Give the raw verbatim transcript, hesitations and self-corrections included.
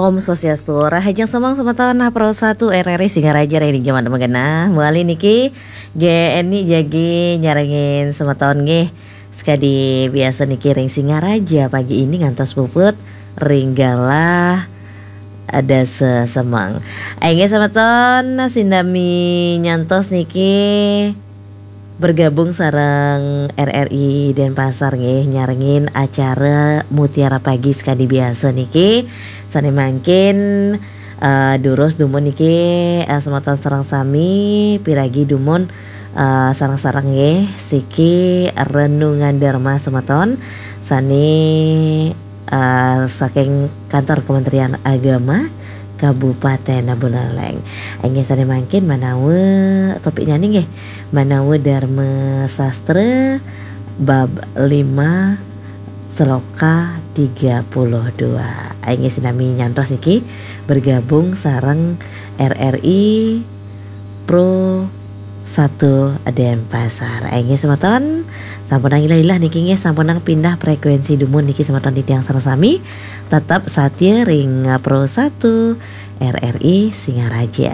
Om Swastiastu, rahajeng semeng semeton Pro satu R R I Singaraja ring jaman mangkin. Mawali niki G N I jagi nyarengin semeton nggih. Sekadi biasa niki ring Singaraja pagi ini ngantos puput ring galah dasa semeng. Inggih semeton, sinami nyantos niki bergabung sareng R R I Denpasar nggih, nyarengin acara Mutiara Pagi sekadi biasa niki. Sane mangkin, eh, durus dumun niki, eh, semeton sareng sami piragi dumun, eh, sareng-sareng nggih siki renungan Dharma semeton sane, eh, saking kantor Kementerian Agama Kabupaten Buleleng. Inggih sane mangkin manawa topiknyane nggih manawa Dharma Sastra bab lima sloka tiga puluh dua. Inggih sinami nyantos niki bergabung sareng R R I Pro satu Denpasar. Inggih semeton, sampunang ilah-ilah niki nggih, sampunang pindah frekuensi dumun niki semeton titiang sareng sami. Tetep satia ring Pro satu R R I Singaraja.